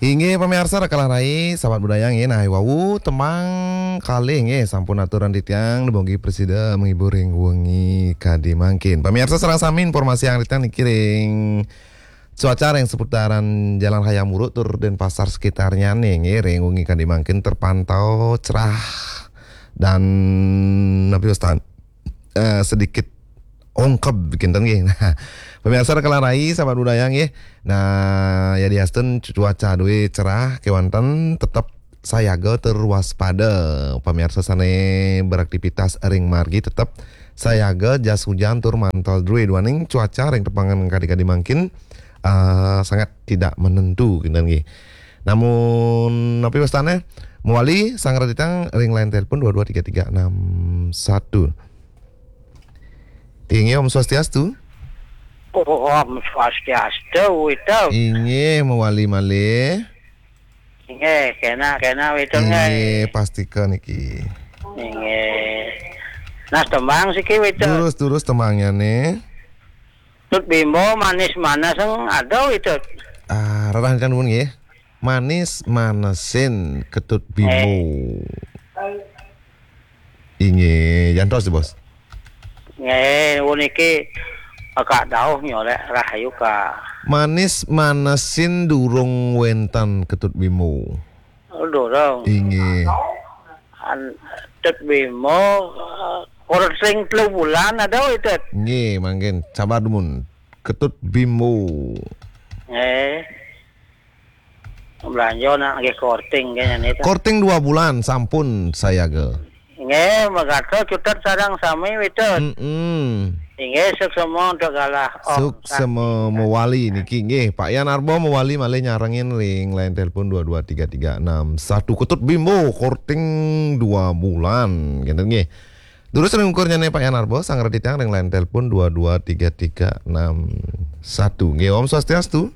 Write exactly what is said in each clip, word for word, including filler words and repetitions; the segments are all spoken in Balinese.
Inggih, pamiarsa rikala rai, sahabat budaya nggih, nah, wau tembang kalih nggih, sampun aturan titiang, dumugi prasida menghibur ring wengi kadi mangkin. Pamiarsa sareng sami, informasiang titiang niki ring cuaca ring seputaran Jalan Raya Muruk tur Denpasar sekitarnya nih, nggih, ring wengi kadi mangkin terpantau cerah dan napi wastan, eh, sedikit ongkeb kinten nggih. Nah, pamiarsa rikala rai, sahabat budaya nggih. Nah, yadiastun cuaca drué cerah kéwanten tetep sayaga tur waspada. Pamiarsa sané beraktivitas ring margi tetep sayaga jas hujan tur mantel drué duaning cuaca ring tepengan kadi-kadi mangkin, eh, sangat tidak menentu kinten nggih. Namun napi wastané, mawali sareng titiang ring line telepon dua dua tiga tiga enam satu. Inggih, Om Swastiastu. Om Swastiastu, Wito. Inggih, mawali malih. Inggih, kénak, kénak, Wito, inggih, nggih. Pastika niki. Inggih. Nah, tembang siki, Wito. Durus, durus tembangnyané. Tut Bimbo, manis manesing, aduh, Wito. Ah, rarah nuwun nggih. Manis manesin Ketut Bimbo. Eh. Inggih, jantos, Bos. Nggih, puniki Kak Dauh nyolék rahayu ka. Manis manesin durung wénten Ketut Bimbo. Oh, durung. Inggih. An-, Tut Bimbo, eh, kurang sing telu bulan ada, Tut. Nggih, mangkin. Sabar dumun. Ketut Bimbo. Nggih. Belanja nak nggih korting kayaknya nih, Tut. Korting dua bulan sampun sayaga. Nggih, megato cutet sareng sami, Witut. Mm-mm. Inggih, suksema untuk galah. Om Suksema Santi. Mewali niki nggih. Pak Yan Arbo mewali malih nyarengin ring line telepon dua dua tiga tiga enam satu. Ketut Bimbo korting dua bulan. Gitu nggih. Durus ring ungkur nyané Pak Yan Arbo, sareng titiang ring line telepon dua dua tiga tiga enam satu. Nggih, Om Swastiastu.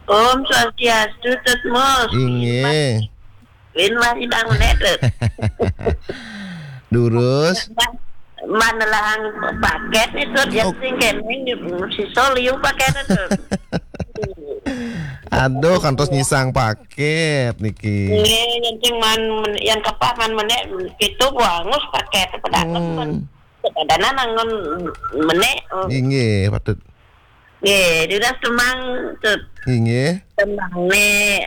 Om Swastiastu, Tut Mus. Inggih. Win masih bangun, eh, Tut. Durus. Man-, manelahang pakét nih, Tut. Yang Oh. sing kéné, sisa liu pakét, Tut. Aduh, kantos nyisang pakét niki. Nggih, yang sing man, men-, yang kapah man menék, itu bagus pakét, pedagang, Hmm. Kadang-kadang nangun menék, oh. Inggih, patut. Nggih, durus tembang, Tut. Inggih. Tembangné,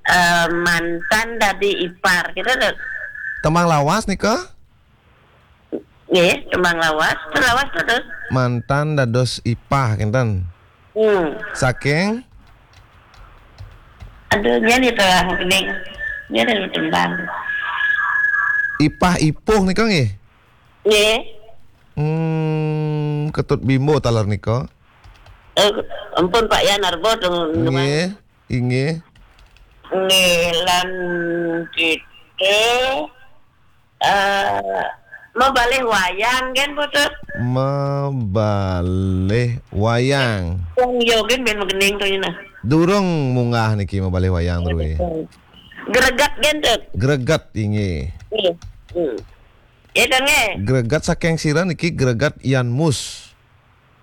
eh, mantan dadi ipar, gitu, Tut. Tembang lawas nika? Nggih, tembang lawas, tembang lawas, Tut. Mantan dados ipah, kinten. Hmm. Saking? Aduh, nyén nih, Tut, kening. Nyén nih tembang. Ipah ipuh nika nggih? Nggih. Hmm, Ketut Bimbo taler nika. Eh, ampun, Pak Yan Arbo, dong, dong. Nggih, inggih. Nggih, lan kita, eh, mabalih wayang, kan, Putu? Mabalih wayang. Wong yo, kan, ben magening to, nah. Durung munggah niki mabalih wayang, Tru. Greget, kan, Tut? Greget, inggih. Nggih. Hmm. Ya, Tut, nggih. Greget saking sira niki greget Yan Mus.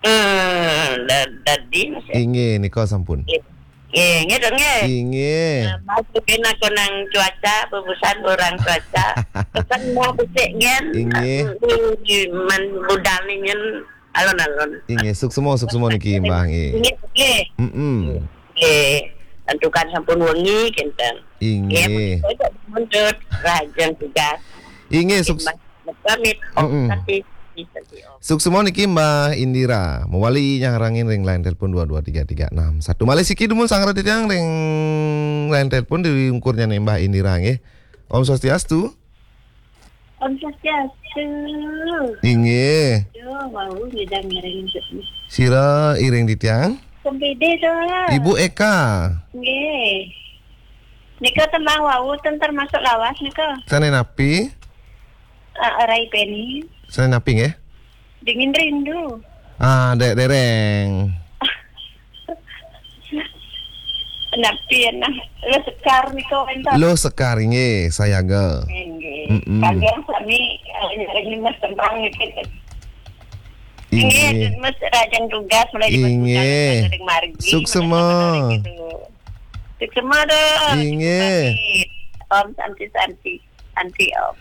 Hmm, da-, dadi, Mas, ya. Inggih, nika sampun. Nggih, nggih, Tut, nggih. Inggih. Nah, masukin aku nang cuaca, bubusan orang cuaca. Pesan Mbah becik, nggih. Inggih. Di, di man budal nih, nyen alon-alon. Inggih, suksema, suksema niki, Mbah, nggih. Nggih, nggih. Mm-mm. Nggih. Tentukan sampun wengi, kinten. Inggih. Nggih, menika aja mundur, rahajeng tugas. Inggih, suks- Mas, pamit. Om Mm-mm. Santi, Santi, Om. Suksema niki Mbah Indira. Mawali nyarengin ring line telepon dua dua tiga tiga enam satu. Malih siki dumun sareng titiang ring line telepon di ungkur nyané Mbah Indira nggih. Om Swastiastu. Om Swastiastu. Inggih. Yo, wau ngidang ngiring. Sira iring titiang? Kempidi to. Ibu Eka. Nggih. Nika tembang wau ten termasuk lawas nika. Sané napi? Eh, Rai Peni. Sané napi nggih? Dingin Rindu. Ah, dek dereng. Napi ya, nah. Lo Sekar nika wénten. Lo Sekar, inggih, sayaga. Inggih. Mm-mm. Kalian sami, eh, nyarengin Mas tembang niki. Inggih. Inggih, Mas, rahajeng tugas, mulai di Mas Inggih. Budal, dari margi, suksema. Mulai dari gitu. Suksma. Inggih. Om Santi, Santi, Santi Om.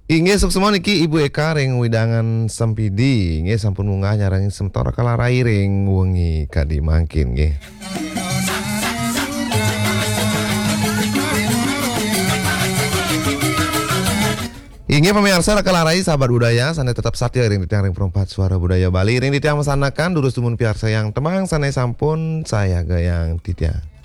Inggih, suksma niki Ibu Eka ring wewidangan Sempidi. Inggih, sampun munggah nyarengin semeton Raka Larai ring wengi kadi mangkin nggih. Inggih pamiarsa Raka Larai sahabat budaya sane tetep satia ring titiang ring Perempat Suara Budaya Bali, ring titiang masandekan durus dumun piarsayang tembang sane sampun sayagayang titiang.